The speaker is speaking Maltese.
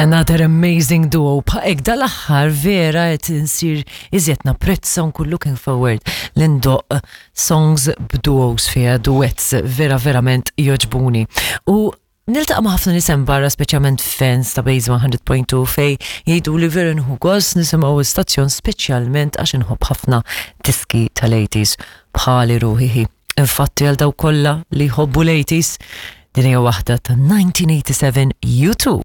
Another amazing duo. Bħaqek dal-aħħar vera qed insir iżjed napprezza nkun looking forward li ndoqq songs b'duos fiha duets vera verament jogħġbuni. U niltaqa' ma' ħafna nies hemm barra speċjalment fans ta' Base 100.2 fej jgħidu li vera nħu gost nisimgħu l-istazzjon speċjalment għax inħobb ħafna diski tal-80s bħali ruħi. Infatti għal dawk kollha li jħobbu l-80s din hija waħda ta' 1987 U2.